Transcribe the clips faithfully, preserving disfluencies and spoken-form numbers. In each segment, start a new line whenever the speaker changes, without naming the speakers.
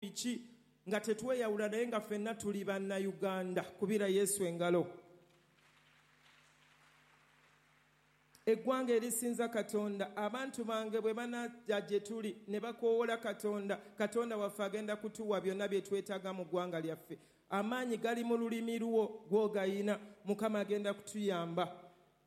Biki nga tetweyawula, naye nga ffenna tuli Bannayuganda. Kubira Yesu engalo. Eggwanga erisinza Katonda, abantu bange bwe banajja gye tuli ne bakoowola Katonda, Katonda waffe agenda kutuwa byonna bye twetaaga mu ggwanga lyaffe. Amaanyi gali mu lulimi lwo gw'ogayina, Mukama agenda kutuyamba.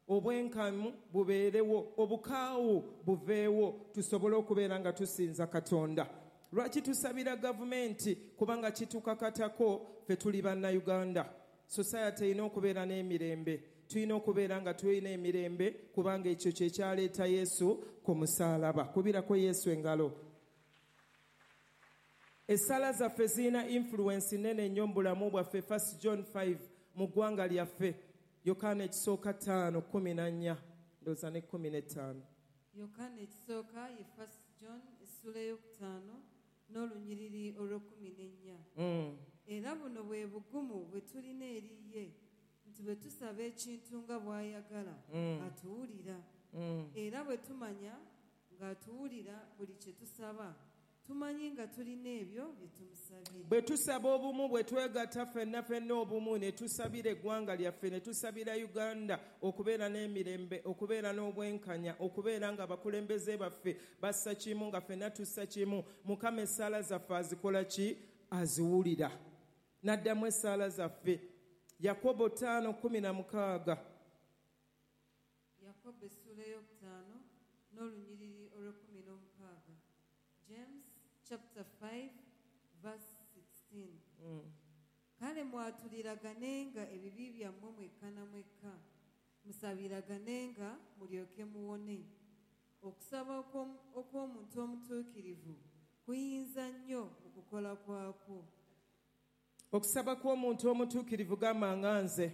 Obwenkamu bubeerewo, obukaawu buveewo, tusobole okubeera nga tusinza Katonda. Lwaki tusabira gavumenti? Kubanga kitukakatako, ffe tuli Bannayuganda. Society erina okubeera n'emirembe, tulina okubeera nga tulina emirembe, kubanga ekyo kye kyaleeta Yesu ku musaalaba. Kubirako Yesu engalo. Essala zaffe zirina influence nnene nnyo mu bulamu bwaffe. First John five mu ggwanga lyaffe, Yokaana ekisooka ttaano kkumi na nnya, ndowooza ne kkumi n'ettaano.
Yokaana ekisooka ye First John essula ey'okutaano n'olunyiriri olw'ekkumi n'ennya.
Mm.
Era buno bwe bugumu bwe tulina eri ye, nti bwe tusaba ekintu nga bw'ayagala,
Mm.
atuwulira.
Mm.
Era bwe tumanya ng'atuwulira buli kye tusaba, tumanyi nga tulina ebyo bye tumusabye.
Bwe tusaba obumu, bwe twegatta ffenna ffenna obumu, ne tusabira eggwanga lyaffe, ne tusabira Uganda okubeera n'emirembe, okubeera n'obwenkanya, okubeera nga abakulembeze baffe bassa kimu, nga ffenna tussa kimu, Mukama essaala zaffe azikola ki? Aziwulira. N'addamu essaala zaffe. Yakobo ttaano kkumi na mukaaga.
Yakobo essuula ey'okutaano n'olunyiriri olw'ekkumi n'omukaaga. James chapter five verse sixteen.
Mm.
Kale mwatuliraganenga ebibi byammwe mwekka na mwekka, musabiraganenga mulyoke muwone. Okusaba okw'omu-, okw'omuntu omutuukirivu kuyinza nnyo mu kukola kwakwo.
Okusaba kw'omuntu omutuukirivu, gamba nga nze,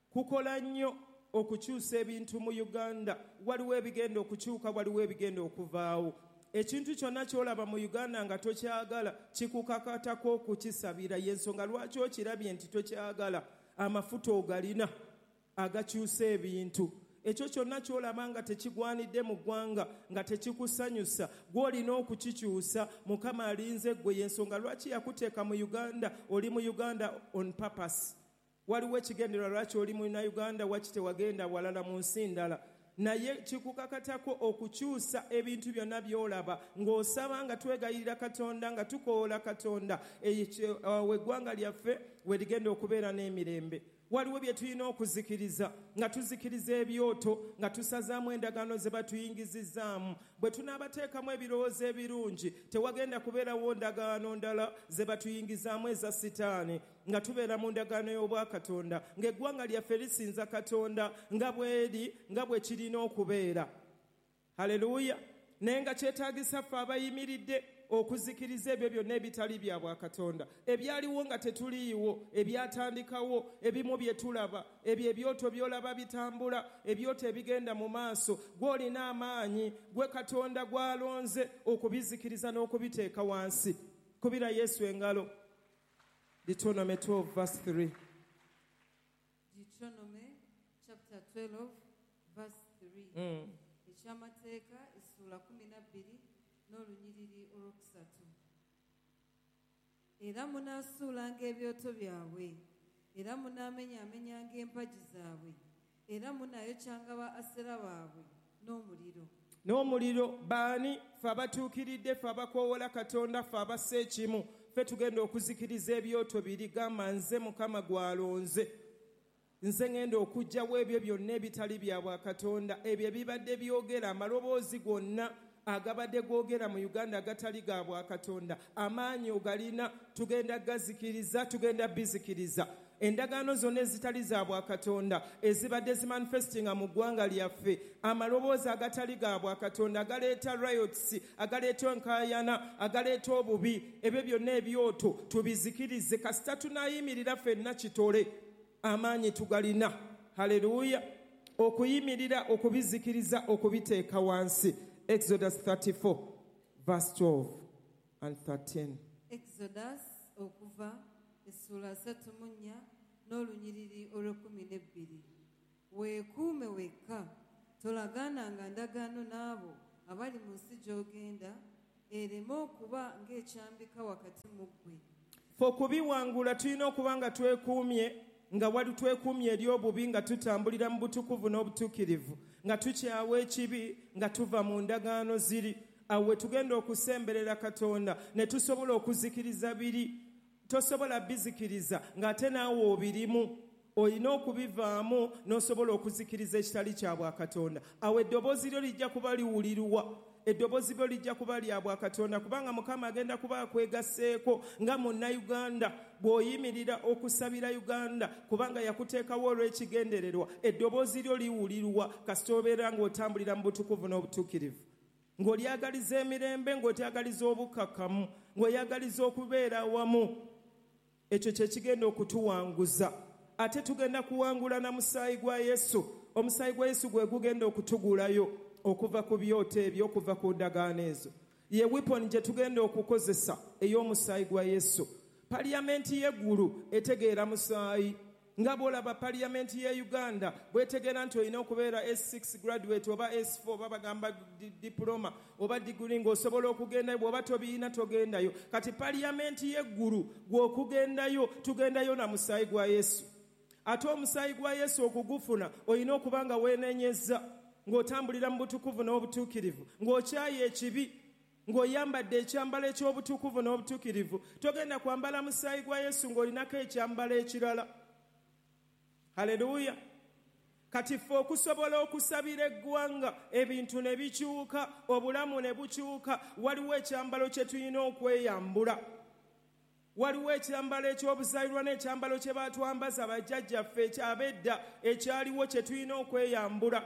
kukola nnyo okukyusa ebintu mu Uganda. Waliwo ebigenda okukyuka, waliwo ebigenda okuvaawo. Ekintu kyonna ky'olaba mu Uganda nga tokyagala, kikukakatako okukisabira. Y'ensonga lwaki okirabye nti tokyagala, amafuta ogalina agakyusa ebintu. Ekyo kyonna ky'olaba nga tekigwanidde mu ggwanga, nga tekikusanyusa, gw'olina okukikyusa. Mukama alinze ggwe. Y'ensonga lwaki yakuteeka mu Uganda. Oli mu Uganda on purpose. Waliwo ekigendererwa lwaki oli Munnayuganda, waki tewagenda walala mu nsi ndala. Naye kikukakatako okukyusa ebintu byonna by'olaba, ng'osaba, nga twegayirira Katonda, nga tukoola Katonda. Ekyo, awo eggwanga lyaffe we ligenda okubeera n'emirembe. Waliwo bye tulina okuzikiriza, nga tuzikiriza ebyoto, nga tusazaamu endagaano ze batuyingizizzaamu. Bwe tunaabateekamu ebirowoozo ebirungi, tewagenda kubeerawo ndagaano ndala ze batuyingizaamu eza Sitaani, nga tubeera mu ndagaano y'Obwakatonda, ng'eggwanga lyaffe lisinza Katonda nga bw'eri, nga bwe kirina okubeera. Haleluya! Naye nga kyetaagisa ffe abayimiridde okuzikiriza ebyo byonna ebitali bya Bwakatonda, ebyaliwo nga tetuliiwo, ebyatandikawo, ebimu bye tulaba, ebyo ebyoto by'olaba bitambula, ebyoto ebigenda mu maaso, gw'olina amaanyi, gwe Katonda gw'alonze okubizikiriza n'okubiteeka wansi. Kubira Yesu engalo. Deuteronomy twelve verse three.
Deuteronomy chapter twelve verse three.
Mm.
Ekyamateeka essuula kkumi na bbiri n'olunyiriri olwokusatu. Era munaasuulanga ebyoto byabwe, era munaamenyaamenyanga empagi zaabwe, era munaayokyanga ba Asera baabwe n'omuliro.
N'omuliro. Baani? Ffe abatuukiridde, ffe abakoowoola Katonda, ffe abassa ekimu, ffe tugenda okuzikiriza ebyoto biri. Gamba nze Mukama gw'alonze, nze ngenda okuggyawo ebyo byonna ebitali bya Bwakatonda, ebyo ebibadde byogera, amaloboozi gonna agabadde googera mu Uganda agatali ga Bwakatonda, amaanyi ogalina, tugenda gazikiriza, tugenda bizikiriza. Endagaano zonna ezitali za Bwakatonda ezibadde zimanifestinga mu ggwanga lyaffe, amaloboozi agatali ga Bwakatonda agaleeta riots, agaleeta enkaayana, agaleeta obubi, ebyo byonna ebyoto tubizikirize. Kasita tunaayimirira ffenna kitole, amaanyi tugalina. Haleluya! Okuyimirira, okubizikiriza, okubiteeka wansi. Exodus thirty-four verse twelve and thirteen.
Exodus okuva essuula asatu mu nnya n'olunyiriri olw'ekkumi n'ebbiri. Weekuume wekka, tolagaananga ndagaano n'abo abali mu nsi gy'ogenda ereme okuba ng'ekyambika wakati mu ggwe.
Fe okubiwangula tulina okuba nga twekuumye, nga wali twekuumye eri obubi, nga tutambulira mu butukuvu n'obutuukirivu, nga tukyawa ekibi, nga tuva mu ndagaano ziri. Awo we tugenda okusemberera Katonda ne tusobola okuzikiriza biri. Tosobola bizikiriza ng'ate naawe obirimu. Olina okubivaamu n'osobola okuzikiriza ekitali kya bwakatonda. Awo eddoboozi lyo lijja kuba liwulirwa, eddoboozi lyo lijja kuba lya bwakatonda, kubanga Mukama agenda kuba akwegasseeko nga munnayuganda bw'oyimirira okusabira Uganda, kubanga yakuteekawo olw'ekigendererwa. Eddoboozi lyo liwulirwa kasita obeera ng'otambulira mu butukuvu n'obutuukirivu, ng'olyagaliza emirembe, ng'otyagaliza obukkakkamu, ng'oyagaliza okubeera awamu. Ekyo kye kigenda okutuwanguza. Ate tugenda kuwangula na musaayi gwa Yesu. Omusaayi gwa Yesu gwe gugenda okutugulayo okuva ku byoto ebyo, okuva ku ndagaano ezo. Ye weapon gye tugenda okukozesa ey'omusaayi gwa Yesu. Paliyamenti y'eggulu etegeera musaayi. Nga bw'olaba paliyamenti ye Uganda bwetegeera nti olina okubeera S six graduate oba S four oba bagamba diploma oba degree ng'osobola okugendayo, bw'oba tobiina togendayo. Kati paliyamenti y'eggulu gw'okugendayo, tugendayo na musaayi gwa Yesu. Ate omusaayi gwa Yesu okugufuna olina okuba nga weenenyezza, ng'otambulira mu butukuvu n'obutuukirivu, ng'okyaye ekibi, ng'oyambadde ekyambalo eky'obutukuvu n'obutuukirivu. Togenda kwambala musaayi gwa Yesu ng'olinako ekyambalo ekirala. Haleluya. Kati ffe okusobola okusabira eggwanga ebintu ne bikyuka, obulamu ne bukyuka, waliwo ekyambalo kye tulina okweyambula. Waliwo ekyambalo eky'obuzaalirwa n'ekyambalo kye baatwambaza bajjajjaffe ekyabedda ekyaliwo kye tulina okweyambula.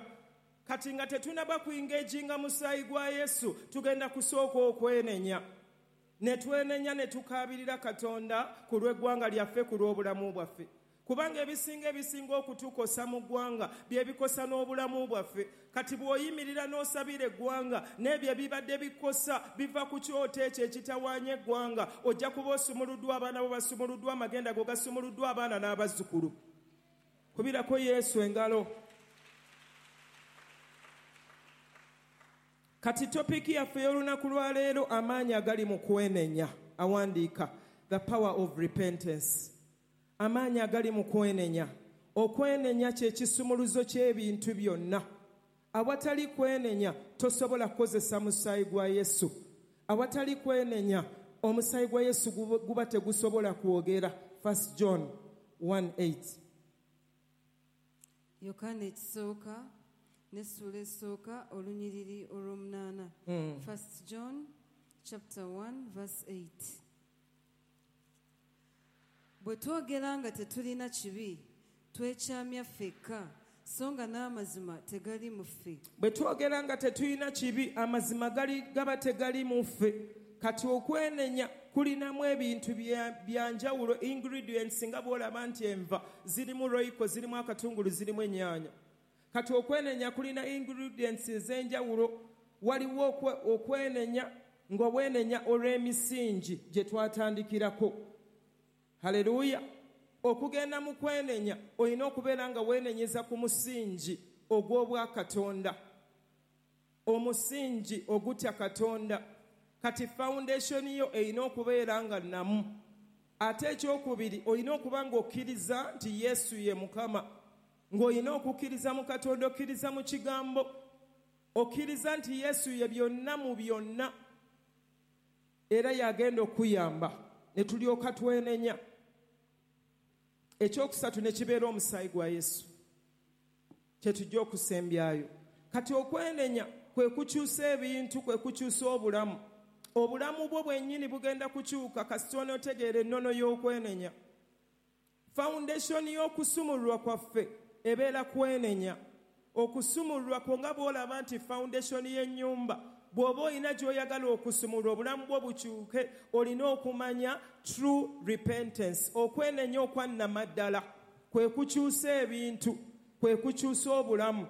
Kati nga tetunaba kuingeejinga musaayi gwa Yesu, tugenda kusooka okwenenya. Ne twenenya ne tukaabirira Katonda ku lw'eggwanga lyaffe, ku lw'obulamu bwaffe. Kubanga ebisinga ebisinga okutukosa mu ggwanga bye bikosa n'obulamu bwaffe. Kati bw'oyimirira n'osabira eggwanga n'ebyo ebibadde bikosa biva ku kyoto ekyo ekitawaanya eggwanga, ojja kuba osumuluddwa, abaana bo basumuluddwa, amagenda go gasumuluddwa, abaana n'abazzukulu. Kubirako Yesu engalo. Kati topiki yaffe y'olunaku lwa leero, amaanyi agali mu kwenenya. Awandiika the power of repentance. Amaanyi agali mu kwenenya. Okwenenya kye kisumuluzo ky'ebintu byonna. Awatali kwenenya tosobola kukozesa musaayi gwa Yesu. Awatali kwenenya omusaayi gwa Yesu guba tegusobola kwogera. First John one eight.
Yokaana ekisooka n'essuula esooka olunyiriri olw'omunaana. First John chapter one verse eight. Bwe twogera nga tetulina kibi, twekyamya ffekka, so nga n'amazima tegali mu ffe.
Bwe twogera nga tetulina kibi, amazima gali gaba tegali mu ffe. Kati okwenenya kulinamu ebintu bya njawulo, ingredients, nga bw'olaba nti enva zirimu royco, zirimu akatungulu, zirimu ennyaanya. Kati okwenenya kulina ingredients ez'enjawulo. Waliwo okwenenya nga wenenya olw'emisingi gye twatandikirako. Haleluya. Okugenda mu kwenenya olina okubeera nga weenenyeza ku musingi ogw'obwakatonda, omusingi ogutya Katonda. Kati foundation yo erina okubeera nga nnamu. Ate ekyokubiri olina okuba ng'okkiriza nti Yesu ye Mukama, ng'olina okukkiriza mu Katonda, okkiriza mu kigambo, okkiriza nti Yesu ye byonna mu byonna, era yagenda okuyamba ne tulyoka twenenya. Ekyokusatu ne kibeera omusaayi gwa Yesu kye tujja okusembyayo. Kati okwenenya kwe kukyusa ebintu, kwe kukyusa obulamu. Obulamu bwo bwennyini bugenda kukyuka kasita onootegeera ennono y'okwenenya. Foundation y'okusumululwa kwaffe ebeera kwenenya. Okusumululwa kwo nga bw'olaba nti foundation y'ennyumba, bw'oba olina gy'oyagala okusumulula obulamu bwo bukyuke, olina okumanya true repentance. Okwenenya okwannamaddala kwe kukyusa ebintu, kwe kukyusa obulamu.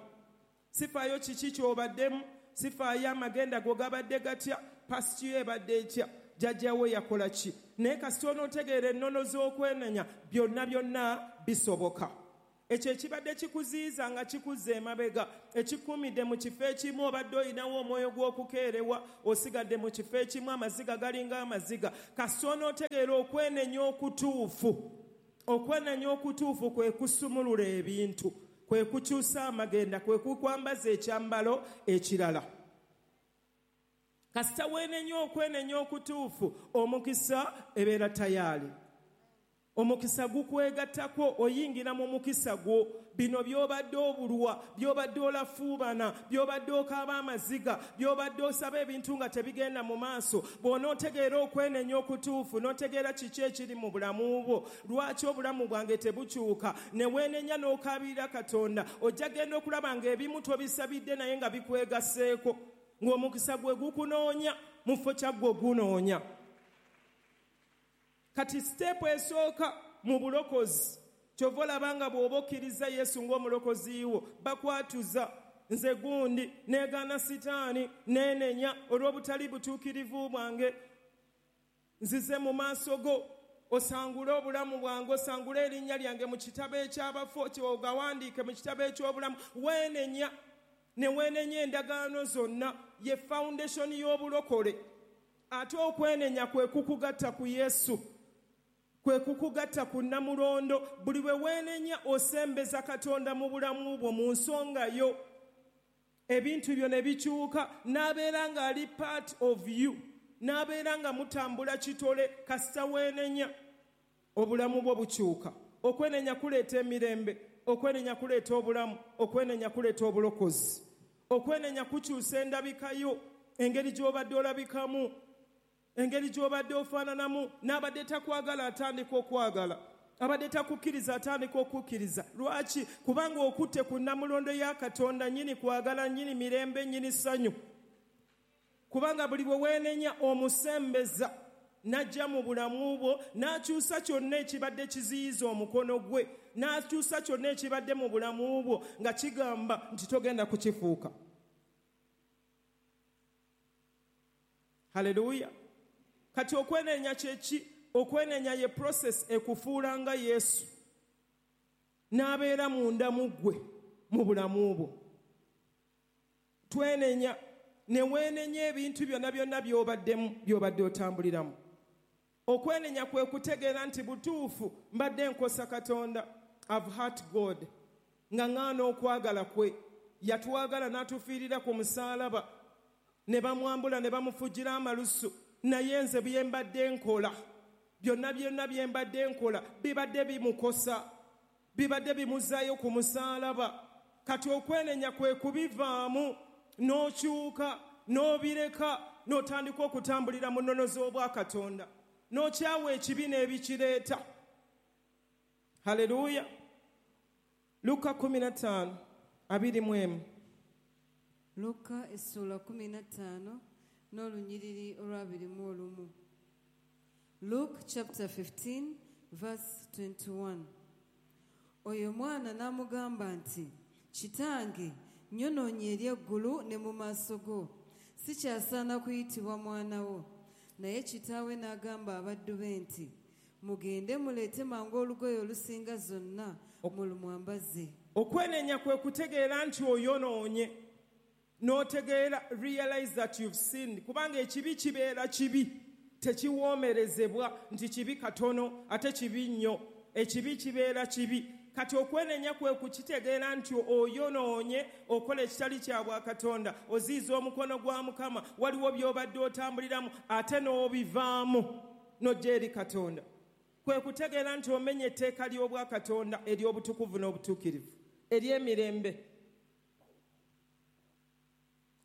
Sifaayo kiki ky'obaddemu, sifaayo amagenda go gabadde gatya, past yo ebadde etya, jjajjawo yakola ki, naye kasita onootegeera ennono z'okwenenya, byonna byonna bisoboka. Ekyo ekibadde kikuziyiza nga kikuzza emabega, ekikuumidde mu kifo ekimu, obadde olinawo omwoyo gw'okukeerewa, osigadde mu kifo ekimu, amaziga galinga amaziga. Kasita onootegeera okwenenya okutuufu. Okwenenya okutuufu kwe kusumulula ebintu, kwe kukyusa amagenda, kwe kukwambaza ekyambalo ekirala. Kasita weenenya okwenenya okutuufu, omukisa ebeera tayaali. Omukisa gukwegattako, oyingira mu mukisa gwo. Bino by'obadde obulwa, by'obadde olafuubana, by'obadde okaaba amaziga, by'obadde osaba ebintu nga tebigenda mu maaso. Bw'onootegeera okwenenya okutuufu, n'otegeera kiki ekiri mu bulamu bwo, lwaki obulamu bwange tebukyuka, ne weenenya n'okaabirira Katonda, ojja genda okulaba ng'ebimu tobisabidde naye nga bikwegasseeko, ng'omukisa gwe gukunoonya mu kifo kya ggwe ogunoonya. Kati step esooka mu bulokozi, kyova olaba nga bw'oba okkiriza Yesu ng'omulokozi wo, bakwatuza nze gundi, neegaana Sitaani, neenenya olw'obutali butuukirivu bwange, nzize mu maaso go, osangule obulamu bwange, osangule erinnya lyange mu kitabo eky'abafu, ogawandiike mu kitabo eky'obulamu. Weenenya, ne weenenya endagaano zonna, ye foundation y'obulokole. Ate okwenenya kwe kukugatta ku Yesu, kwe kukugatta ku nnamulondo. Buli bwe weenenya osembeza Katonda mu bulamu bwo, mu nsonga yo, ebintu byo ne bikyuka, n'abeera ng'ali part of you, n'abeera nga mutambula kitole. Kasita weenenya obulamu bwo bukyuka. Okwenenya kuleeta emirembe, okwenenya kuleeta obulamu, okwenenya kuleeta obulokozi, okwenenya kukyusa endabika yo, engeri gy'obadde olabikamu, engeri gy'obadde ofaananamu. N'abadde takwagala atandika okwagala, abadde takukkiriza atandika okukkiriza. Lwaki? Kubanga okutte ku nnamulondo ya Katonda, nnyini kwagala, nnyini mirembe, nnyini ssanyu. Kubanga buli bwe weenenya omusembeza n'ajja mu bulamu bwo, n'akyusa kyonna ekibadde kiziyiza omukono gwe, n'akyusa kyonna ekibadde mu bulamu bwo nga kigamba nti togenda kukifuuka. Haleluya. Kati okwenenya kye ki? Okwenenya ye process ekufuula nga Yesu, n'abeera munda mu ggwe mu bulamu bwo. Twenenya, ne weenenya ebintu byonna byonna by'obaddemu, by'obadde otambuliramu. Okwenenya kwe kutegeera nti butuufu mbadde nkosa Katonda, I've hurt God, nga ŋŋaana okwagala kwe. Yatwagala n'atufiirira ku musaalaba, ne bamwambula ne bamufujjira amalusu, naye nze bye mbadde nkola byonna byonna bye mbadde nkola bibadde bimukosa, bibadde bimuzaayo ku musaalaba. Kati okwenenya kwe kubivaamu, n'okyuka, n'obireka, n'otandika okutambulira mu nnono z'obwakatonda, n'okyawa ekibi n'ebikireeta. Haleluya. Luka kumi na ttaano abiri mu emu.
Luka essuula kumi na ttaano n'olunyiriri olw'abiri mu olumu. Luke chapter fifteen verse twenty-one. Oyo mwana n'amugamba nti, Kitange, nnyonoonye eri eggulu ne mu maaso go, sikyasaana kuyitibwa mwana wo. Naye kitaawe n'agamba abaddu be nti, mugende muleete mangu olugoye olusinga zonna mulumwambaze.
Okwenenya kwe kutegeera nti oyonoonye, n'otegeera, realize that you've sinned. Kubanga ekibi kibeera kibi, tekiwoomerezebwa nti kibi katono ate kibi nnyo. Ekibi kibeera kibi. Kati okwenenya kwe kukitegeera nti oyonoonye, okola ekitali kya bwakatonda, oziiza omukono gwa Mukama, waliwo by'obadde otambuliramu ate n'obivaamu n'ojja eri Katonda. Kwe kutegeera nti omenye etteeka ly'obwakatonda ery'obutukuvu n'obutuukirivu, ery'emirembe,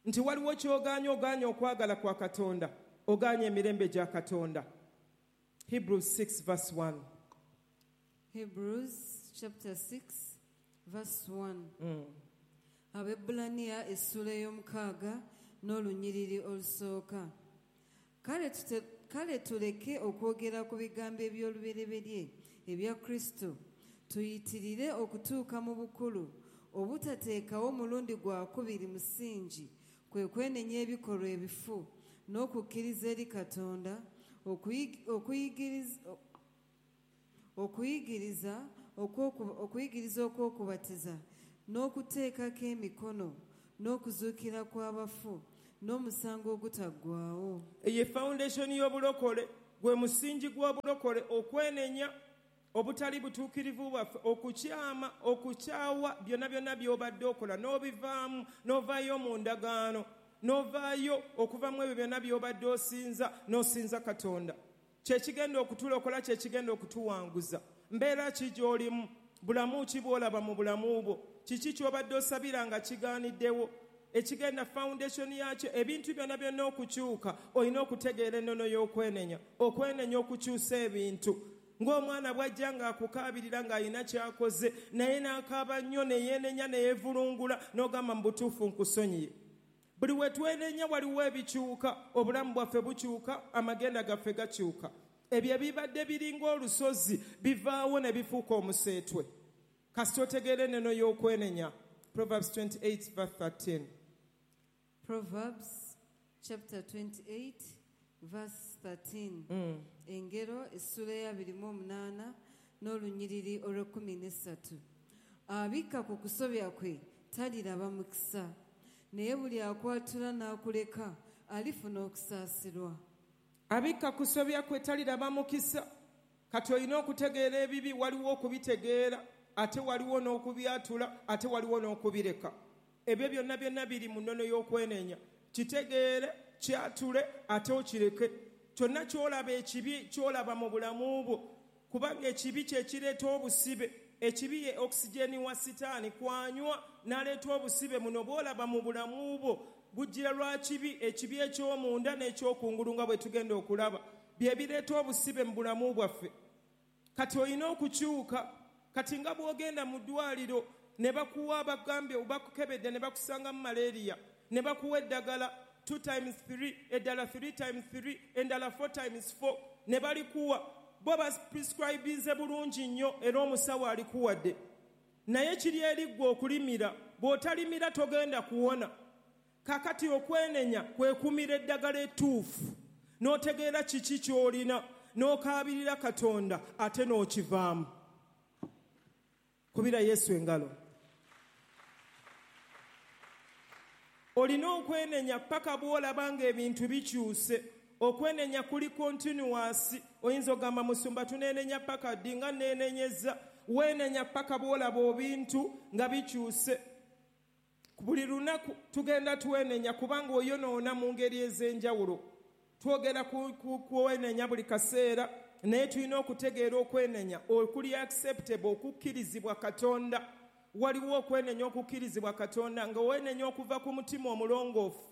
nti waliwo ky'ogaanye, ogaanye okwagala kwa Katonda, ogaanye emirembe gya Katonda. Hebrews six verse one.
Hebrews chapter six verse one.
Mm.
Abebbulaniya essuula ey'omukaaga n'olunyiriri olusooka. Kale tute, kale tuleke okwogera ku bigambo eby'olubereberye ebya Kristo, tuyitirire okutuuka mu bukulu, obutateekawo mulundi gwa kubiri musingi, kwe kwenenya ebikolwa ebifu n'okukkiriza eri Katonda, okuyigiriza Okuyigiriza okuyigiriza okw'okubatiza n'okuteekako emikono n'okuzuukira kw'abafu n'omusango ogutaggwaawo.
Ye foundation y'obulokole, gwe musingi gw'obulokole, okwenenya obutali butuukirivu bwaffe, okukyama, okukyawa byonna byonna by'obadde okola n'obivaamu, n'ovaayo mu ndagaano, n'ovaayo okuva mu ebyo byonna by'obadde osinza, n'osinza Katonda. Kye kigenda okutulokola, kye kigenda okutuwanguza. Mbeera ki gy'olimu? Bulamu ki bw'olaba mu bulamu bwo? Kiki ky'obadde osabira nga kigaaniddewo? Ekigenda foundation yakyo, ebintu byonna byonna okukyuka, olina okutegeera ennono y'okwenenya, okwenenya okukyusa ebintu. Ng'omwana bw'ajja ng'akukaabirira ng'alina ky'akoze, naye n'akaaba nnyo ne yeenenya ne yeevulungula, n'ogamba mu butuufu nkusonyiye. Buli we twenenya waliwo ebikyuka, obulamu bwaffe bukyuka, amagenda gaffe gakyuka. Ebyo ebibadde biringa olusozi bivaawo ne bifuuka omuseetwe. Kasita otegeera ennono y'okwenenya. Proverbs twenty-eight verse thirteen.
Proverbs chapter twenty-eight verse thirteen.
Mm.
Engero essula ya abiri mu omunaana n'olunyiriri olw'ekkumi n'essatu. Abikka ku kusobya kwe taliraba mukisa, naye buli akwatula n'akuleka alifuna okusaasirwa.
Abikka kusobya kwe taliraba mukisa. Kati olina okutegeera ebibi, waliwo okubitegeera, ate waliwo n'okubyatula, ate waliwo n'okubireka. Ebyo byonna byonna biri mu nnono y'okwenenya. Kitegeere, kyatule, ate okireke. Kyonna ky'olaba ekibi ky'olaba mu bulamu bwo, kubanga ekibi kye kireeta obusibe. Ekibi ye oxygen wa sitaani kwanywa n'aleeta obusibe muno bw'olaba mu bulamu bwo. Bujjira lwa kibi, ekibi eky'omunda n'ekyokungulu nga bwe tugenda okulaba, bye bireeta obusibe mu bulamu bwaffe. Kati olina okukyuka. Kati nga bw'ogenda mu ddwaliro ne bakuwa, bagambye bakukebedde ne bakusanga mu malaria, ne bakuwa eddagala two times three, eddala three times three, endala four times four, ne balikuwa. Bo baprescribinze bulungi nnyo era omusawo alikuwadde, naye kiri eri ggwe okulimira. Bw'otalimira togenda kuwona. Kakati okwenenya kwe kumira eddagala ettuufu, n'otegeera kiki ky'olina, n'okaabirira Katonda ate n'okivaamu. Kubira Yesu engalo. Olina okwenenya paka bw'olaba ng'ebintu bikyuse. Okwenenya kuli continuous. Oyinza ogamba musumba tuneenenya paka ddi? Nga neenenyeza. Weenenya paka bw'olaba ebintu nga bikyuse. Buli lunaku tugenda twenenya, kubanga oyonoona mu ngeri ez'enjawulo. Twogera ku kwenenya buli kaseera, naye tulina okutegeera okwenenya okuli acceptable, okukkirizibwa Katonda. Waliwo okwenenya okukkirizibwa Katonda, nga wenenya okuva ku mutima omulongoofu,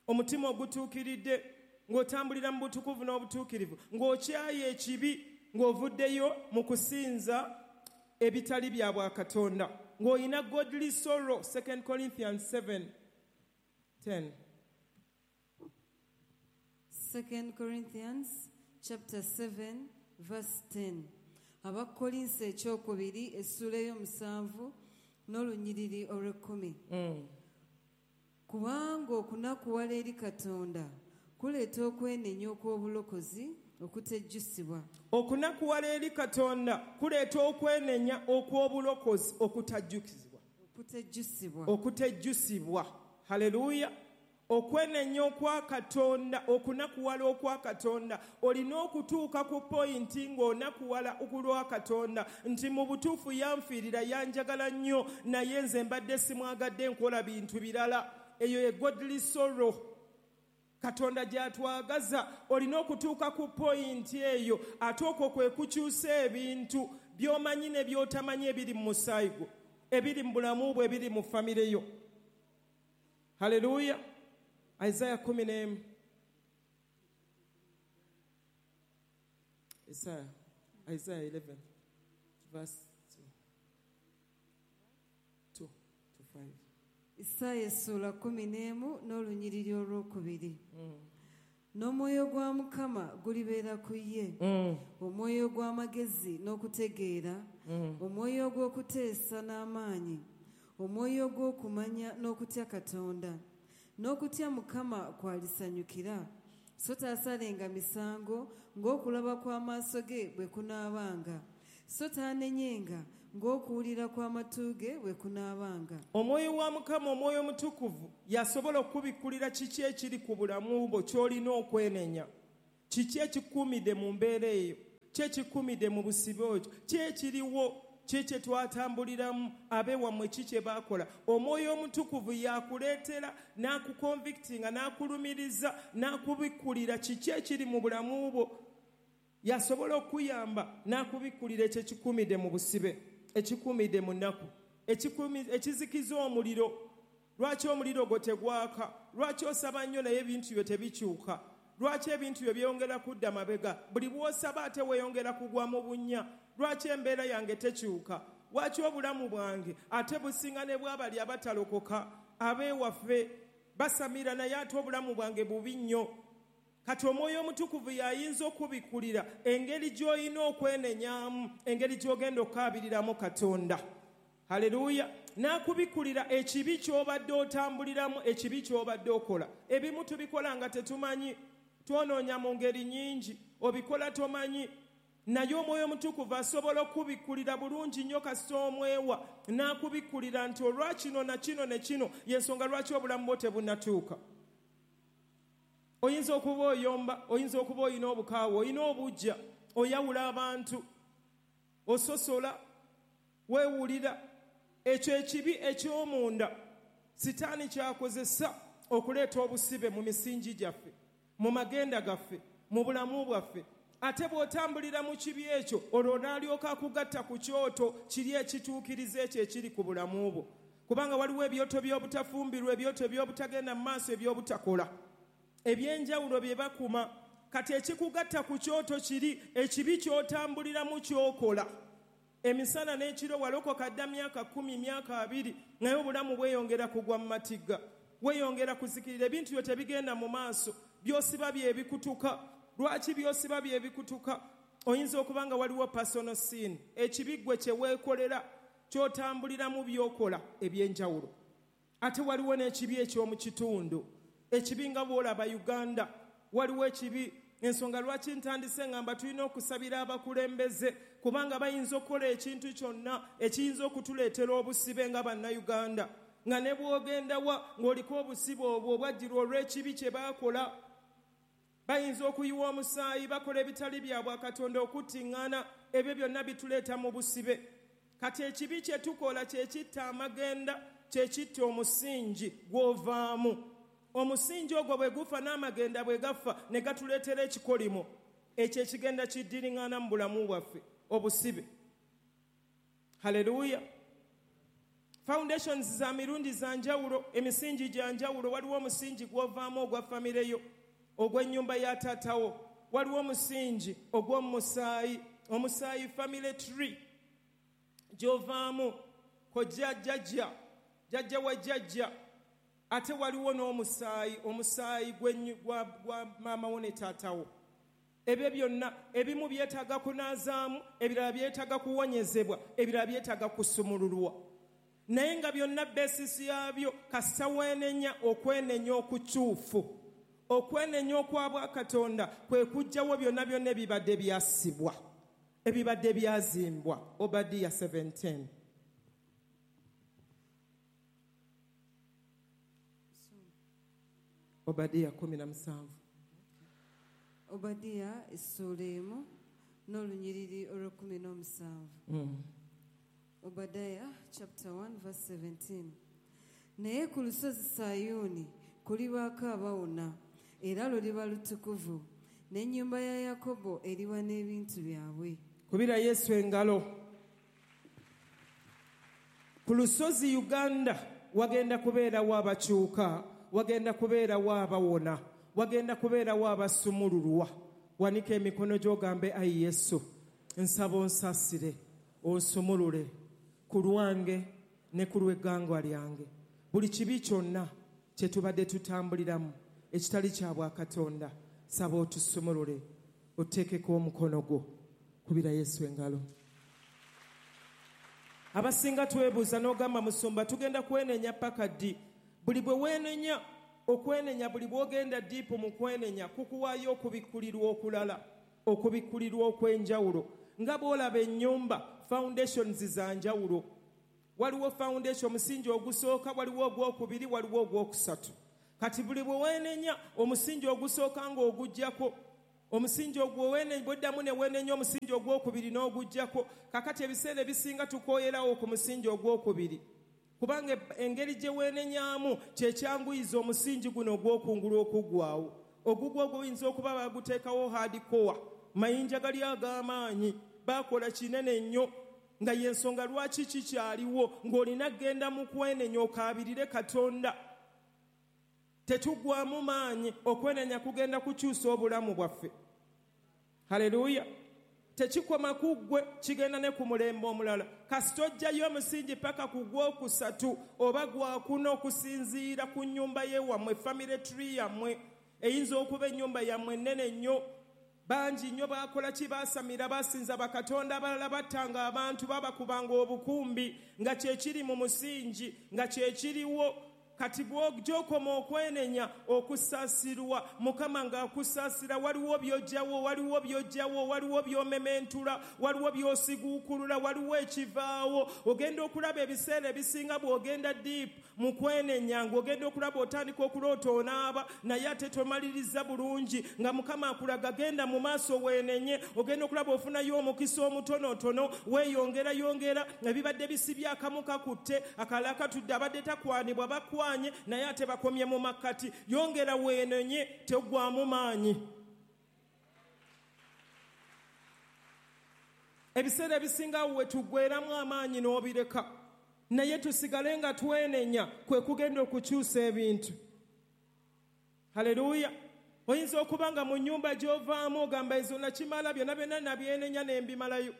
omutima ogutuukiridde, ng'otambulira mu butukuvu n'obutuukirivu, ng'okyaye ekibi, ng'ovuddeyo mu kusinza ebitali bya bwakatonda, ng'olina godly sorrow. Second Corinthians seven ten.
Second Corinthians chapter seven verse ten. Abakkolinso ekyokubiri essuula ey'omusanvu n'olunyiriri olw'ekkumi.
Mm.
Kubanga okunakuwala eri Katonda kuleeta okwenenya okw'obulokozi okutejjusibwa.
Okunakuwala eri Katonda kuleeta okwenenya okw'obulokozi okutajjukizibwa.
Okutejjusibwa.
Okutejjusibwa. Haleluya. Okwenenya okwa Katonda, okunakuwala okwa Katonda, olina okutuuka ku pointi ng'onakuwala okulwa Katonda nti mu butuufu yanfiirira, yanjagala nnyo, naye nze mbadde simwagadde, nkola bintu birala. Eyo ye godly sorrow Katonda gy'atwagaza. Olina okutuuka ku pointi eyo, ate okwo kwe kukyusa ebintu by'omanyi ne by'otamanyi ebiri mu musaayi gwo, ebiri mu bulamu bwo, ebiri mu famire yo. Haleluya. Isaiah kumi n'emu. Isaiah, Isaiah eleven, verse two. two to five.
Isaya essuula kumi n'emu n'olunyiriri olwokubiri.
Mm.
N'omwoyo gwa Mukama gulibeera ku ye,
Mm.
omwoyo gw'amagezi n'okutegeera,
Mm.
omwoyo gw'okuteesa n'amaanyi, omwoyo gw'okumanya n'okutya Katonda. N'okutya Mukama kwalisanyukira, so taasalenga misango ng'okulaba kw'amaaso ge bwe kunaabanga. So taanenyenga ng'okuwulira kw'amatu ge bwe kunaabanga.
Omwoyo wa Mukama, Omwoyo Omutukuvu, yasobola okubikkulira kiki ekiri ku bulamu bwo ky'olina okwenenya, kiki ekikuumidde mu mbeera eyo, ki ekikuumidde mu busibe okyo, ki ekiriwo, ki kye twatambuliramu, abeewammwe ki kye baakola. Omwoyo Omutukuvu yakuleetera n'akukonvictinga, n'akulumiriza, n'akubikkulira kiki ekiri mu bulamu bwo. Yasobola okuyamba n'akubikkulira ekyo ekikuumidde mu busibe, ekikuumidde mu nnaku, ekizikiza omuliro. Lwaki omuliro gwo tegwaka? Lwaki osaba nnyo naye ebintu byo tebikyuka? Lwaki ebintu byo byeyongera kudda mabega? Buli bw'osaba ate weeyongera kugwa mu bunnya. Lwaki embeera yange tekyuka? Lwaki obulamu bwange ate businga ne bw'abali abatalokoka abeewaffe basamira naye ate obulamu bwange bubi nnyo? Kati Omwoyo Omutukuvu y'ayinza okubikkulira engeri gy'olina okwenenyamu, engeri gy'ogenda okukaabiriramu Katonda. Haleluya! N'akubikkulira ekibi ky'obadde otambuliramu, ekibi ky'obadde okola. Ebimu tubikola nga tetumanyi, twonoonya mu ngeri nnyingi, obikola tomanyi. Naye Omwoyo Omutukuvu asobola okubikkulira bulungi nnyo kasita omwewa, n'akubikkulira nti olwa kino na kino ne kino, y'ensonga lwaki obulamu bwo tebunnatuuka. Oyinza okuba oyomba, oyinza okuba olina obukaawa, olina obuggya, oyawula abantu, ososola, weewulira. Ekyo ekibi eky'omunda Sitaani kyakozesa okuleeta obusibe mu misingi gyaffe, mu magenda gaffe, mu bulamu bwaffe. Ate bw'otambulira mu kibi ekyo, olwo n'alyoka akugatta ku kyoto kiri ekituukiriza ekyo ekiri ku bulamu bwo. Kubanga waliwo ebyoto by'obutafumbirwa, ebyoto by'obutagenda mu maaso, eby'obutakola, ebyenjawulo bye bakuma. Kati ekikugatta ku kyoto kiri ekibi ky'otambuliramu ky'okola. Emisana n'ekiro walokoka dda myaka kkumi, myaka abiri, naye obulamu bweyongera kugwa mu matigga, weeyongera kuzikirira, ebintu byo tebigenda mu maaso, by'osiba bye bikutuka. Lwaki by'osiba bye bikutuka? Oyinza okuba nga waliwo personal sin, ekibi ggwe kye weekolera, ky'otambuliramu by'okola ebyenjawulo. Ate waliwo n'ekibi eky'omu kitundu, ekibi nga bw'olaba Uganda, waliwo ekibi. Ensonga lwaki ntandise ngamba tulina okusabira abakulembeze, kubanga bayinza okukola ekintu kyonna ekiyinza okutuleetera obusibe nga Bannayuganda, nga ne bw'ogenda wa ng'oliko obusibe obwo obwajjirwa olw'ekibi kye baakola. Bayinza okuyiwa omusaayi, bakola ebitali bya bwakatonda, okuttiŋŋana, ebyo byonna bituleeta mu busibe. Kati ekibi kye tukola kye kitta amagenda, kye kitta omusingi gw'ovaamu. Omusingi ogwo bwe gufa n'amagenda bwe gafa ne gatuleetera ekikolimo ekyo ekigenda kiddiriŋŋana mu bulamu bwaffe, obusibe. Haleluya! Foundations za mirundi za njawulo, emisingi gya njawulo. Waliwo omusingi gw'ovaamu ogwa famire yo, ogw'ennyumba ya taatawo. Waliwo omusingi ogw'omusaayi, omusaayi family tree gy'ovaamu, kojja jjajja, jjajja wa jjajja. Ate waliwo n'omusaayi, omusaayi gwa, gwa maama wo ne taatawo. Ebyo byonna ebimu byetaaga kunaazaamu, ebirala byetaaga kuwonyezebwa, ebirala byetaaga kusumululwa. Naye nga byonna basis yaabyo kasita weenenya okwenenya okukyufu. Okwenenya okwa bwakatonda kwe kuggyawo byonna byonna ebibadde byasibwa, ebibadde byazimbwa. Obadiya seventeen. Obadiya kumi na musanvu.
Obadiya essuula emu n'olunyiriri olw'ekkumi n'omusanvu.
Mm.
Obadiah chapter one verse seventeen. Naye ku lusozi Sayuuni kulibaako abawona, era luliba lutukuvu, n'ennyumba ya Yakobo eriba n'ebintu byabwe.
Kubira Yesu engalo. Ku lusozi Uganda wagenda kubeerawo abakyuka, wagenda kubeerawo abawona, wagenda kubeerawo abasumululwa. Wanika emikono gy'ogambe, ayi Yesu, nsaba onsaasire, onsumulule ku lwange ne ku lw'eggwanga lyange. Buli kibi kyonna kye tubadde tutambuliramu ekitali kya bwakatonda, saba otusumulule, oteekeko omukono gwo. Kubira Yesu engalo. Abasinga twebuuza n'ogamba, musumba tugenda kwenenya paka ddi? Buli bwe weenenya, okwenenya buli bw'ogenda diipu mu kwenenya kukuwaayo okubikkulirwa okulala, okubikkulirwa okw'enjawulo. Nga bw'olaba ennyumba, foundations za njawulo. Waliwo foundation, omusingi ogusooka, waliwo ogwokubiri, waliwo ogwokusatu. Kati buli bwe weenenya omusingi ogusooka ng'oguggyako, omusingi ogwo bw'oddamu ne weenenya omusingi ogwokubiri n'oguggyako. Kakati ebiseera ebisinga tukooyerawo ku musingi ogwokubiri, kubanga engeri gye weenenyaamu kye kyanguyiza omusingi guno ogw'okungulu okuggwawo. Ogugwo oguyinza okuba baguteekawo hardcore, mayinja gali ag'amaanyi, baakola kinene nnyo, nga y'ensonga lwaki kikyaliwo, ng'olina kugenda mu kwenenya okaabirire Katonda. Tetuggwamu maanyi, okwenenya kugenda kukyusa obulamu bwaffe. Haleluya. Tekikoma ku ggwe, kigenda ne ku mulembe omulala. Kasita ojjayo omusingi paka ku gwokusatu oba gwakuna okusinziira ku nnyumba y'ewammwe, family tree yammwe. Eyinza okuba ennyumba yammwe ennene nnyo, bangi nnyo baakola ki, baasamira, baasinza bakatonda abalala, battanga abantu, babakubanga obukumbi, nga kyekiri mu musingi, nga kyekiriwo. Kati bw'okoma okwenenya okusaasirwa, Mukama ng'akusaasira, waliwo by'oggyawo, waliwo by'oggyawo, waliwo by'omementula, waliwo by'osiguukulula, waliwo ekivaawo. Ogenda okulaba ebiseera ebisinga bw'ogenda deep mu kwenenya, ng'ogenda okulaba otandika okuloota onaaba, naye ate tomaliriza bulungi, nga Mukama akulaga genda mu maaso weenenye. Ogenda okulaba ofunayo omukisa omutonotono, weeyongera yongera, ebibadde bisibye akamu kakutte, akalala katudde, abadde takwanibwa bakwa, naye ate bakomye mu makkati. Yongera weenenye, teggwamu maanyi. Ebiseera ebisinga we tuggweramu amaanyi n'obireka, naye tusigale nga twenenya, kwe kugenda okukyusa ebintu. Haleluya. Oyinza okuba nga mu nnyumba gy'ovaamu ogamba ezo nakimala, byonna byonna nabyenenya ne mbimalayo,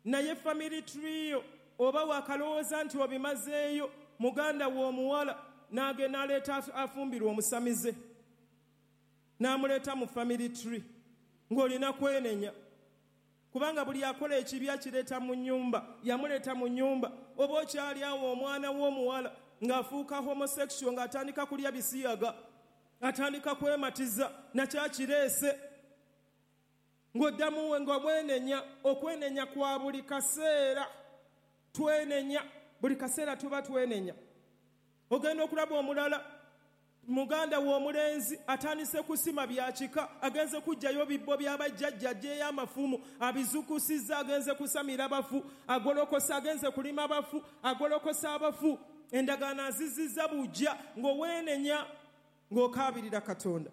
naye family tree yo oba wakalowooza nti obimazeeyo, muganda w'omuwala n'agenda aleeta afumbirwa omusamize, n'amuleeta mu family tree, ng'olina kwenenya, kubanga buli akola ekibi akireeta mu nnyumba, yamuleeta mu nnyumba. Oba okyali awo omwana w'omuwala ng'afuuka homosexual, ng'atandika kulya bisiyaga, atandika kwematiza, nakyakireese, ng'oddamu nga bwenenya. Okwenenya kwa buli kaseera, twenenya buli kaseera, tuba twenenya. Ogenda okulaba omulala, muganda w'omulenzi atandise kusima bya kika, agenze kuggyayo bibbo by'abajjajja, aggyeyo amafumu, abizukusizza, agenze kusamira bafu, agolokosa, agenze kulima bafu, agolokosa abafu, endagaano azizizza bujja. Ng'oweenenya, ng'okaabirira Katonda.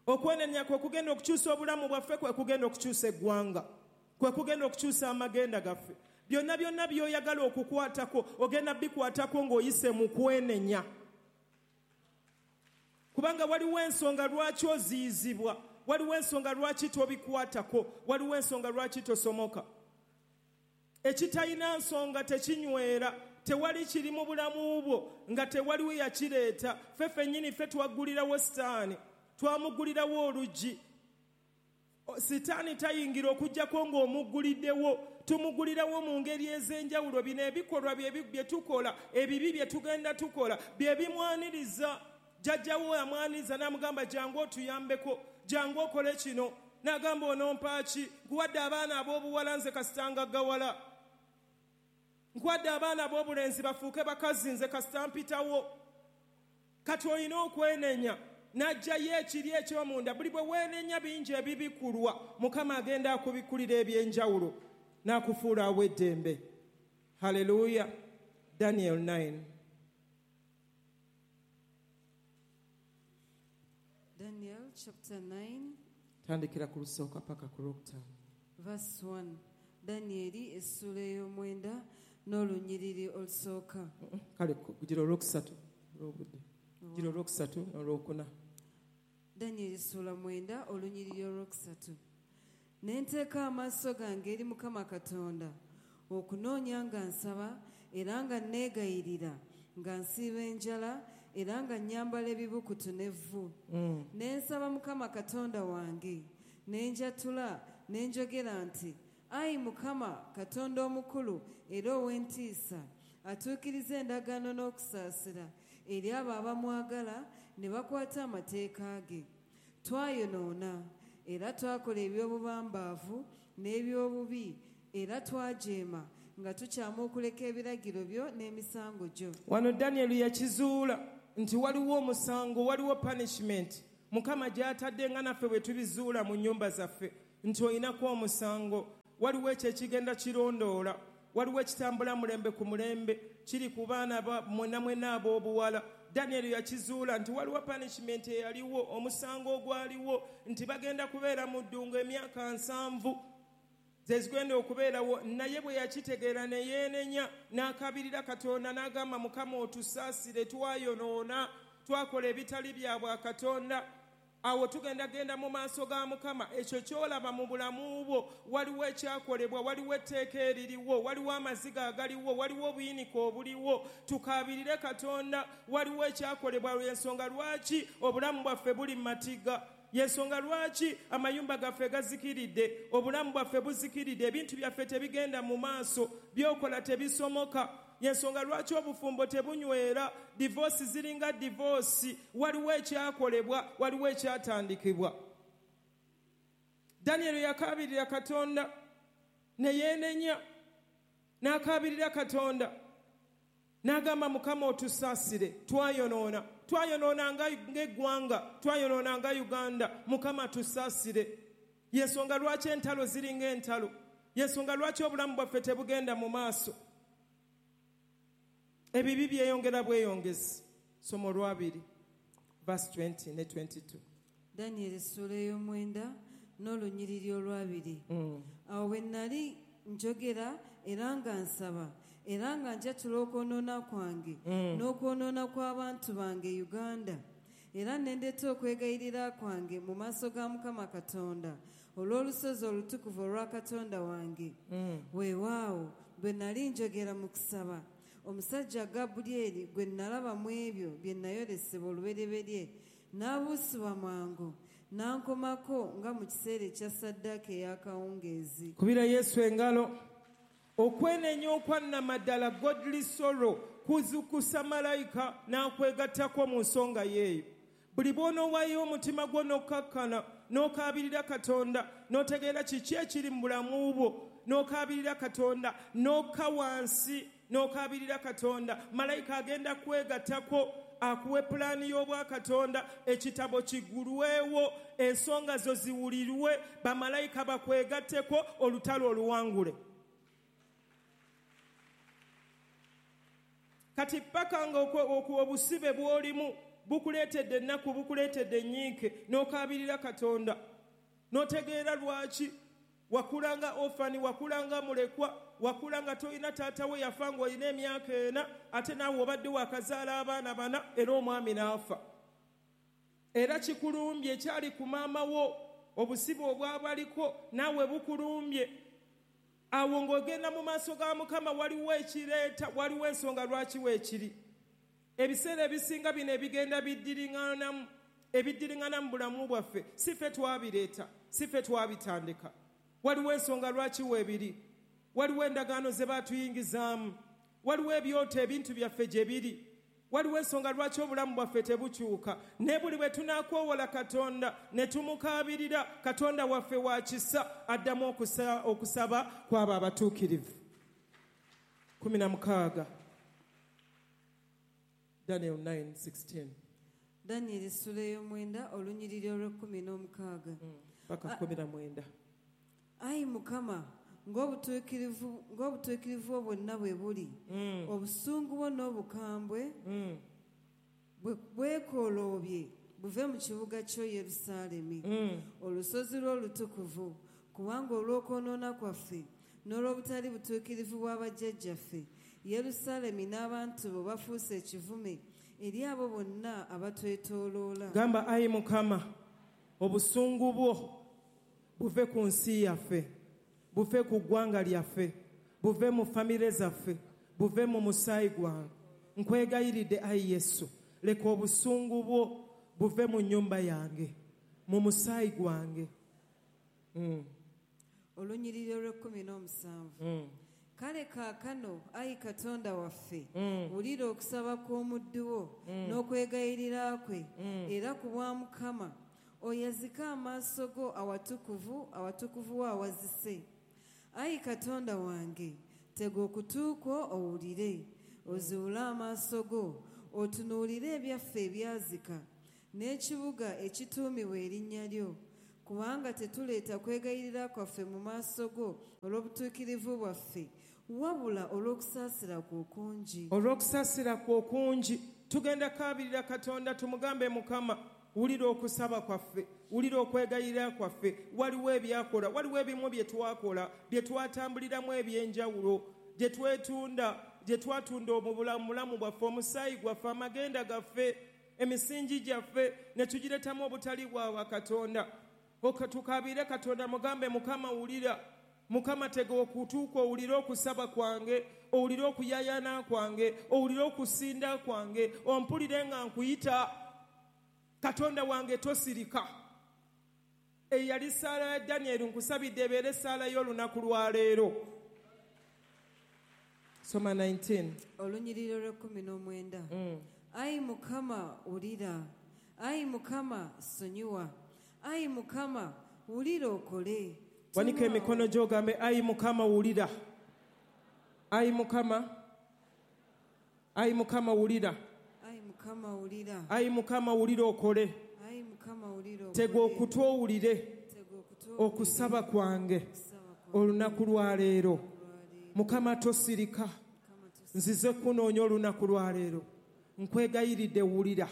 Okwenenya kwe kugenda okukyusa obulamu bwaffe, kwe kugenda okukyusa eggwanga, kwe kugenda okukyusa amagenda gaffe. Byonna byonna by'oyagala okukwatako ogenda bikwatako ng'oyise mu kwenenya, kubanga waliwo ensonga lwaki oziyizibwa, waliwo ensonga lwaki tobikwatako, waliwo ensonga lwaki tosomoka. Ekitalina nsonga tekinywera. Tewali kiri mu bulamu bwo nga tewaliwo yakireeta. Ffe ffennyini ffe twaggulirawo Sitaani, twamuggulirawo oluggi. Sitaani tayingira okuggyako ng'omugguliddewo. Tumuggulirawo mu ngeri ez'enjawulo. Bino ebikolwa bye tukola, ebibi bye tugenda tukola, bye bimwaniriza. Jjajjawo amwaniriza n'amugamba jangu otuyambeko, jangu okole kino. N'agamba onompa ki? Nkuwadde abaana ab'obuwala nze kasita ngaggawala, nkuwadde abaana ab'obulenzi bafuuke bakazi nze kasita mpitawo. Kati olina okwenenya, n'aggyayo ekiri eky'omunda. Buli bwe weenenya bingi ebibikulwa, Mukama agenda akubikkulira eby'enjawulo n'akufuula aw'eddembe. Haleluya. Daniel nine.
Daniel chapter nine.
Tandikira ku lusooka paka ku lwokutaano.
Verse one. Danieli essuula ey'omwenda n'olunyiriri olusooka.
Kale kugira olwokusatu olw'obudde. Kugira olwokusatu n'olwokuna.
Danieli essuula mwenda olunyiriri olwokusatu. Ne nteeka amaaso gange eri Mukama Katonda okunoonya nga nsaba era nga neegayirira, nga nsiiba enjala era nga nnyambala ebibukutu n'evvu.
Mm.
Ne nsaba Mukama Katonda wange, ne njatula, ne njogera nti, Ayi Mukama Katonda omukulu era ow'entiisa, atuukiriza endagaano n'okusaasira eri abo abamwagala ne bakwata amateeka ge. Twayonoona era twakola eby'obubambaavu n'ebyobubi, era twajeema nga tukyama okuleka ebiragiro byo n'emisango gyo.
Wano Daniel yakizuula nti waliwo omusango, waliwo punishment Mukama gy'atadde, nga naffe bwe tubizuula mu nnyumba zaffe nti olinako omusango. Waliwo ekyo ekigenda kirondoola, waliwo ekitambula mulembe ku mulembe, kiri ku baana mwenna mwenna ab'obuwala. Daniel yakizuula nti waliwo punishment eyaliwo, omusango ogwaliwo nti bagenda kubeera mu ddungu emyaka nsanvu zezigenda okubeerawo. Naye bwe yakitegeera ne yeenenya n'akabirira Katonda n'agamba, Mukama otusaasire, twayonoona, twakola ebitali bya bwakatonda. Awo tugenda genda mu maaso ga Mukama. Ekyo ky'olaba mu bulamu bwo, waliwo ekyakolebwa, waliwo etteeka eririwo, waliwo amaziga agaliwo, waliwo obuyinike obuliwo. Tukaabirire Katonda, waliwo ekyakolebwa. Lw'ensonga lwaki obulamu bwaffe buli mu matiga, yensonga lwaki amayumba gaffe gazikiridde, obulamu bwaffe buzikiridde, ebintu byaffe tebigenda mu maaso, by'okola tebisomoka. Yensonga lwaki obufumbo tebunywera, divorce ziringa divorce. Waliwo ekyakolebwa, waliwo ekyatandikibwa. Daniel yakaabirira Katonda ne yeenenya, n'akaabirira Katonda n'agamba, Mukama otusaasire, twayonoona, twayonoona ng'eggwanga, twayonoona nga Uganda, Mukama tusaasire. Yensonga lwaki entalo ziringa entalo, yensonga lwaki obulamu bwaffe tebugenda mu maaso, ebibi byeyongera bweyongezi. Somo lwabiri verse twenty ne twenty-two.
Daniel essuula ey'omwenda n'olunyiriri olwabiri.
Mm.
Awo bwe nali njogera era nga nsaba, era nga njatula okwonoona kwange
Mm.
n'okwonoona kw'abantu bange Uganda, era ne ndeeta okwegayirira kwange mu maaso ga Mukama Katonda olw'olusozi olutukuvu olwa Katonda wange.
Mm.
Weewaawo bwe nali njogera mu kusaba, omusajja Gabulyeri gwe nalaba mu ebyo bye nayolesebwa olubereberye n'abuusibwa mangu n'ankomako nga mu kiseera ekya ssaddaaka ey'akawungeezi.
Kubira Yesu engalo. Okwenenya okwannamaddala, godly sorrow, kuzukusa malayika n'akwegattako mu nsonga yeeyo. Buli bw'onoowaayo omutima gwo n'okkakkana n'okaabirira Katonda, n'otegeera kiki ekiri mu bulamu bwo, n'okaabirira Katonda, n'okka wansi n'okaabirira Katonda, malayika agenda kwegattako akuwe pulaani y'obwakatonda, ekitabo kigulwewo, ensonga zo ziwulirwe, bamalayika bakwegatteko, olutalo oluwangule. Kati paka nga obusibe bw'olimu bukuleetedde ennaku, bukuleetedde ennyiike, n'okaabirira Katonda, n'otegeera lwaki wakulanga orphan, wakulanga mulekwa, wakulanga tolina taata we yafa ng'olina emyaka ena, ate naawe obadde wakazaala abaana bana era omwami n'afa. Era kikulumbye ekyali ku maama wo, obusibe obwabaliko naawe bukulumbye. Awo ng'ogenda mu maaso ga Mukama, waliwo ekireeta, waliwo ensonga lwaki weekiri. Ebiseera ebisinga bino ebigenda biddiriŋŋanamu, ebiddiriŋŋana mu bulamu bwaffe, si ffe twabireeta, si ffe twabitandika. Waliwo ensonga lwaki weebiri, waliwo endagaano ze baatuyingizaamu, waliwo ebyoto ebintu byaffe gye biri, waliwo ensonga lwaki obulamu bwaffe tebukyuka. Ne buli bwe tunaakwowola Katonda ne tumukaabirira, Katonda waffe wa kisa, addamu okusaba kw'abo abatuukirivu. Kumi na mukaaga. Daniel nine sixteen.
Daniel essuula ey'omwenda olunyiriri olw'ekkumi n'omukaaga.
Paka kkumi na mwenda.
Ayi Mukama, ng'obutuukirivu ng'obutuukirivu bwonna bwe buli,
mm.
obusungu bwo n'obukambwe
mm.
bwekooloobye buve mu kibuga kyo Yerusaalemi,
mm.
olusozi lwo olutukuvu, kubanga olw'okwonoona kwaffe n'olw'obutali butuukirivu bw'abajjajjaffe, Yerusaalemi n'abantu bo bafuuse ekivume eri abo bonna abatwetooloola.
Gamba, ayi Mukama, obusungu bwo buve ku nsi yaffe, buve ku ggwanga lyaffe, buve mu famire zaffe, buve mu musaayi gwange. Nkwegayiridde ayi Yesu, leka obusungu bwo buve mu nnyumba yange, mu musaayi gwange. Mm.
Olunyiriri olw'ekkumi n'omusanvu.
Mm.
Kale kaakano, ayi Katonda waffe,
mm.
wulira okusaba kw'omuddu wo
mm.
n'okwegayirira kwe,
mm.
era ku bwa Mukama oyazike amaaso go awatukuvu, awatukuvu wo awazise. Ayi Katonda wange, tega okutu kwo owulire, ozuule amaaso go, otunuulire ebyaffe ebyazika, n'ekibuga ekituumibwa erinnya lyo, kubanga tetuleeta kwegayirira kwaffe mu maaso go olw'obutuukirivu bwaffe, wabula olw'okusaasira kwo okungi.
Olw'okusaasira kwo okungi. Tugenda kaabirira Katonda tumugambe, Mukama, wulira okusaba kwaffe, wulira okwegayirira kwaffe. Waliwo ebyakola, waliwo ebimu bye twakola, bye twatambuliramu eby'enjawulo, gye twetunda, gye twatunda obulamu bwaffe, omusaayi gwaffe, amagenda gaffe, emisingi gyaffe, ne tugireetamu obutali bwa Katonda. Tukabire Katonda mugambe, Mukama wulira, Mukama tega okutu kwo owulire okusaba kwange, owulire okuyayana kwange, owulire okusinda kwange, ompulire nga nkuyita. Katonda wange tosirika. Eyali ssaala ya Daniel nkusabidde ebeere essaala y'olunaku lwa leero. Soma nineteen.
Olunyiriri olw'ekkumi n'omwenda. Ayi Mukama wulira, ayi Mukama sonyiwa, ayi Mukama wulira okole.
Wanika emikono gy'ogambe, ayi Mukama wulira, ayi Mukama, ayi Mukama wulira,
ayi Mukama wulira,
ayi Mukama wulira okole.
Ayi Mukama wulira okole.
Tega okutu owulire okusaba kwange olunaku lwa leero. Mukama tosirika, nzize kunoonya olunaku lwa leero. Nkwegayiridde wulira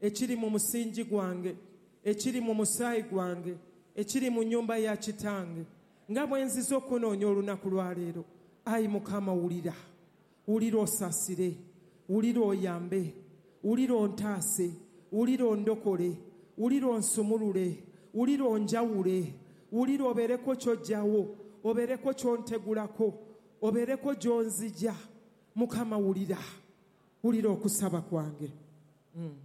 ekiri mu musingi gwange, ekiri mu musaayi gwange, ekiri mu nnyumba ya kitange, nga bwe nzize okunoonya olunaku lwa leero. Ayi Mukama wulira, wulira osaasire, wulira oyambe, wulira ontaase, wulira ondokole, wulira onsumulule, wulira onjawule, wulira obeereko ky'ojjawo, obeereko ky'ontegulako, obeereko gy'onzija. Mukama wulira, wulira okusaba kwange. Mm.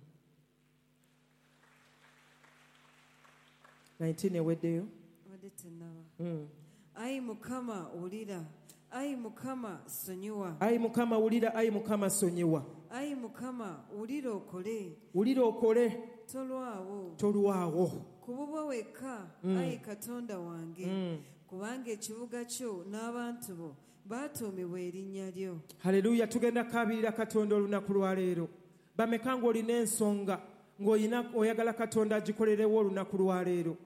nineteen eweddeyo.
Wadde tennaba. Ayi Mukama wulira, ayi Mukama sonyiwa.
Ayi Mukama wulira, ayi Mukama sonyiwa.
Ayi Mukama wulira okole.
Wulira okole.
Tolwawo.
Tolwawo.
Ku bubwo wekka, ayi Katonda wange, kubanga ekibuga kyo n'abantu bo baatuumibwa erinnya lyo.
Haleluya. Tugenda kaabirira Katonda olunaku lwa leero. Bameka ng'olina ensonga ng'olina oyagala Katonda agikolerewo olunaku lwa leero.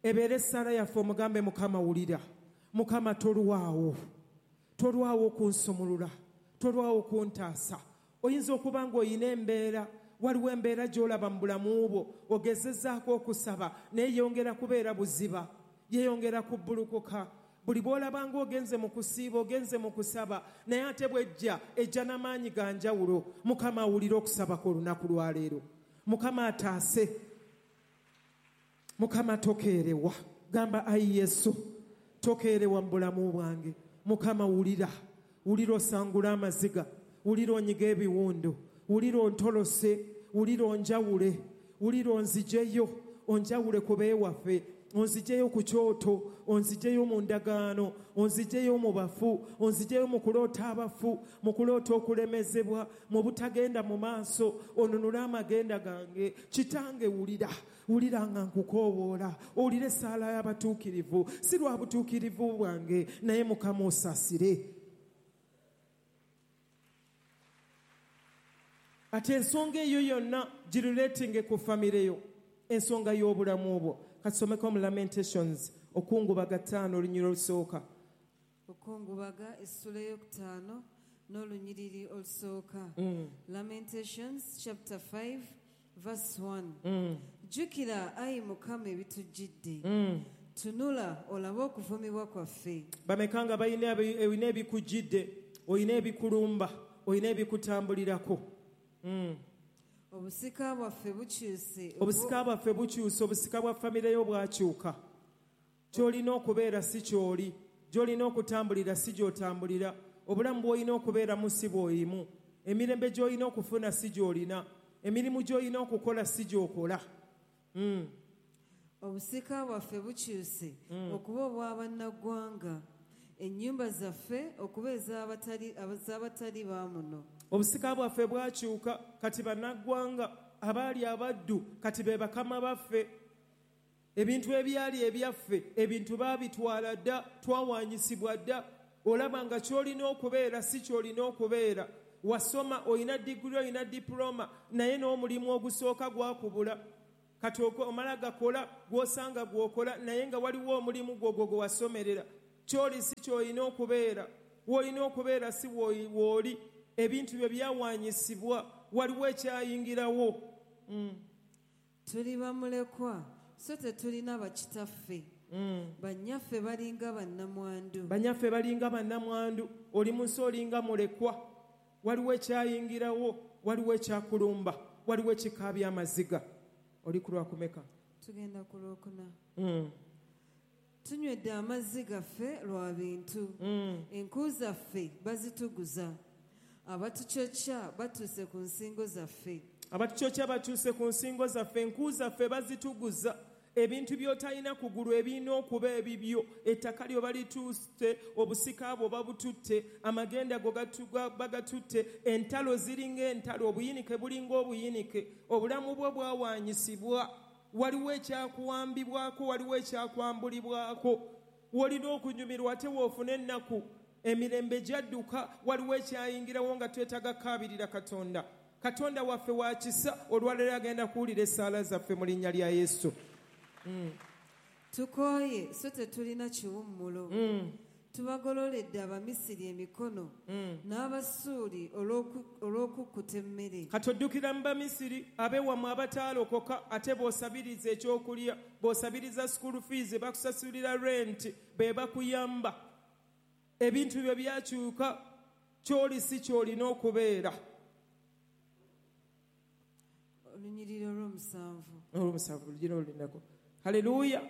Ebeere essaala yaffe omugambe, Mukama wulira, Mukama tolwawo, tolwawo okunsumulula, tolwawo okuntaasa. Oyinza okuba ng'olina embeera, waliwo embeera gy'olaba mu bulamu bwo, ogezezzaako okusaba naye yongera kubeera buziba, yeeyongera kubbulukuka. Buli bw'olaba ng'ogenze mu kusiiba, ogenze mu kusaba, naye ate bw'ejja ejja n'amaanyi ga njawulo. Mukama awulire okusaba kw'olunaku lwa leero. Mukama ataase, Mukama tokeerewa. Gamba, ayi Yesu, tokeerewa mu bulamu bwange. Mukama wulira, wulira osangule amaziga, wulira onyiga ebiwundu, wulira ontolose, wulira onjawule, wulira onzijeyo, onjawule ku beewaffe, onzijeyo ku kyoto, onzijeyo mu ndagaano, onzijeyo mu bafu, onzijeyo mu kuloota abafu, mu kuloota okulemezebwa, mu butagenda mu maaso, onunule amagenda gange. Kitange wulira, wulira nga nkukoowoola, owulire essaala y'abatuukirivu, si lwa butuukirivu bwange, naye Mukama osaasire. Ate ensonga eyo yonna giruleetinge ku famire yo, ensonga y'obulamu bwo. Katusomeko mu Lamentations, Okungubaga ttaano olunyiriri olusooka.
Okungubaga essula ey'okutaano n'olunyiriri olusooka. Lamentations chapter five verse one. Jjukira ayi Mukama ebitujjidde. Tunula olabe okuvumibwa kwaffe.
Bameka nga balina ebikujjidde, olina ebikulumba, olina ebikutambulirako.
Obusika bwaffe bukyuse.
Obusika bwaffe bukyuse, obusika bwa famire yo bwakyuka. Ky'olina okubeera si ky'oli, gy'olina okutambulira si gy'otambulira, obulamu bw'olina okubeeramu si bw'olimu, emirembe gy'olina okufuna si gy'olina, emirimu gy'olina okukola si gy'okola.
Obusika bwaffe bukyuse okuba obw'abannaggwanga, ennyumba zaffe okuba ez'abatali ba muno.
Obusika bwaffe bwakyuka, kati bannaggwanga abaali abaddu kati be bakama baffe. Ebintu ebyali ebyaffe, ebintu baabitwala dda, twawanyisibwa dda. Olaba nga ky'olina okubeera si ky'olina okubeera. Wasoma, olina diguli, olina diploma, naye n'omulimu ogusooka gwakubula. Kati omala gakola, gw'osanga gw'okola, naye nga waliwo omulimu gwo gwe wasomerera. Ky'oli si ky'olina okubeera, w'olina okubeera si w'oli. Ebintu byo byawanyisibwa, waliwo ekyayingirawo. Mm.
Tuli bamulekwa, so tetulina bakitaffe.
Mm.
Bannyaffe balinga bannamwandu.
Bannyaffe balinga bannamwandu. Oli mu nsi olinga mulekwa. Waliwo ekyayingirawo, waliwo ekyakulumba, waliwo ekikaabya amaziga. Oli ku lwakumeka?
Tugenda ku lwokuna.
Mm.
Tunywedde amazzi gaffe lwa bintu.
Mm.
Enku zaffe bazituguza. Abatukyokya batuuse ku nsingo zaffe.
Abatukyokya batuuse ku nsingo zaffe, enku zaffe bazituguza. Ebintu by'otalina kugulu ebirina okuba ebibyo, ettaka lyo balitutte, obusika bwo babututte, amagenda go bagatutte, entalo ziringa entalo, obuyinike bulinga obuyinike, obulamu bwo bwawanyisibwa. Waliwo ekyakuwambibwako, waliwo ekyakwambulibwako. Wolina okunyumirwa ate woofuna ennaku, emirembe gyadduka, waliwo ekyayingirawo nga twetaaga kukaabirira Katonda. Katonda waffe wa kisa, olwaleero agenda kuwulira essaala zaffe mu linnya lya Yesu. Mm.
Tukooye so tetulina kiwummulo.
Mm.
Tubagololedde Abamisiri emikono
mm.
n'Abasuuli olw'okukkuta emmere.
Kati oddukira mu Bamisiri ab'ewammwe abataalokoka, ate b'osabiriza ekyokulya, b'osabiriza school fees, bakusasulira rent, be bakuyamba. Ebintu byo byakyuka, ky'oli si ky'olina okubeera.
Olunyiriri olw'omusanvu.
Olw'omusanvu lugira olulindako. Haleluya.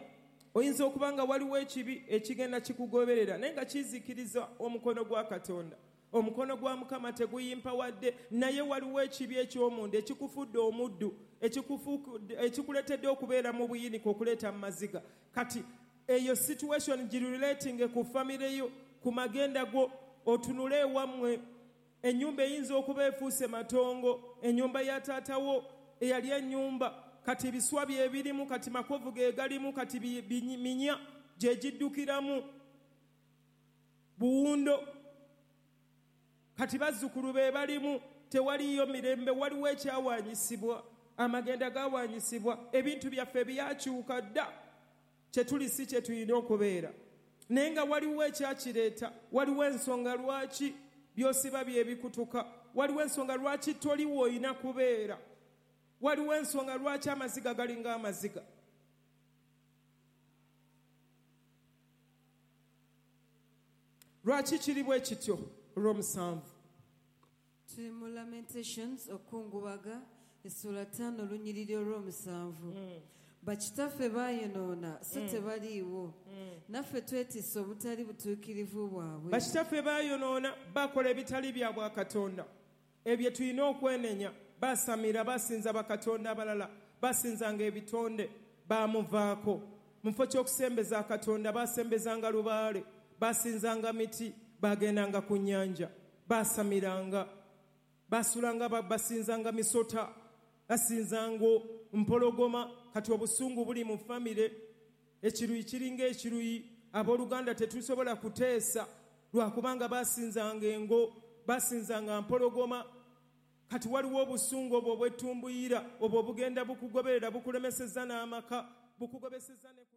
Oyinza okuba nga waliwo ekibi ekigenda kikugoberera, naye nga kizikiriza omukono gwa Katonda. Omukono gwa Mukama teguyimpawadde, naye waliwo ekibi eky'omunda ekikufudde omuddu, ekikuleetedde okubeera mu buyinike, okuleeta mu maziga. Kati eyo situation girelating ku famire yo, ku magenda go, otunule ewammwe. Ennyumba eyinza okuba efuuse matongo, ennyumba ya taatawo eyali ennyumba, kati ebiswa bye birimu, kati makovu ge galimu, kati minya gye giddukiramu, buwundo, kati bazzukulu be balimu, tewaliyo mirembe. Waliwo ekyawanyisibwa, amagenda gawanyisibwa, ebintu byaffe byakyuka dda, kye tuli si kye tulina okubeera. Naye nga waliwo ekyakireeta, waliwo ensonga lwaki by'osiba bye bikutuka, waliwo ensonga lwaki toliwo olina kubeera, waliwo ensonga lwaki amaziga galinga amaziga. Lwaki kiri bwe kityo? Olw'omusanvu.
Tuli mu Lamentations, okungubaga, essula ttaano olunyiriri olw'omusanvu.
Mm.
Bakitaffe baayonoona so
mm.
tebaliiwo.
Mm.
Naffe twetisse obutali butuukirivu bwabwe.
Bakitaffe baayonoona, bakola ebitali bya bwakatonda. Ebyo tulina okwenenya. Basamira, basinza bakatonda abalala, basinzanga ebitonde, bamuvaako. Mu kifo ky'okusembeza Katonda, basembezanga lubaale, basinzanga miti, bagendanga ku nnyanja, basamiranga, basulanga, basinzanga misota, basinzanga mpologoma. Kati obusungu buli mu famire, ekiruyi kiringa ekiruyi, abooluganda tetusobola kuteesa lwakubanga basinzanga engo, basinzanga mpologoma. Kati waliwo obusungu obwo obwetumbuyira, obwo bugenda bukugoberera, bukulemesezza n'amaka, bukugobesezza ne ku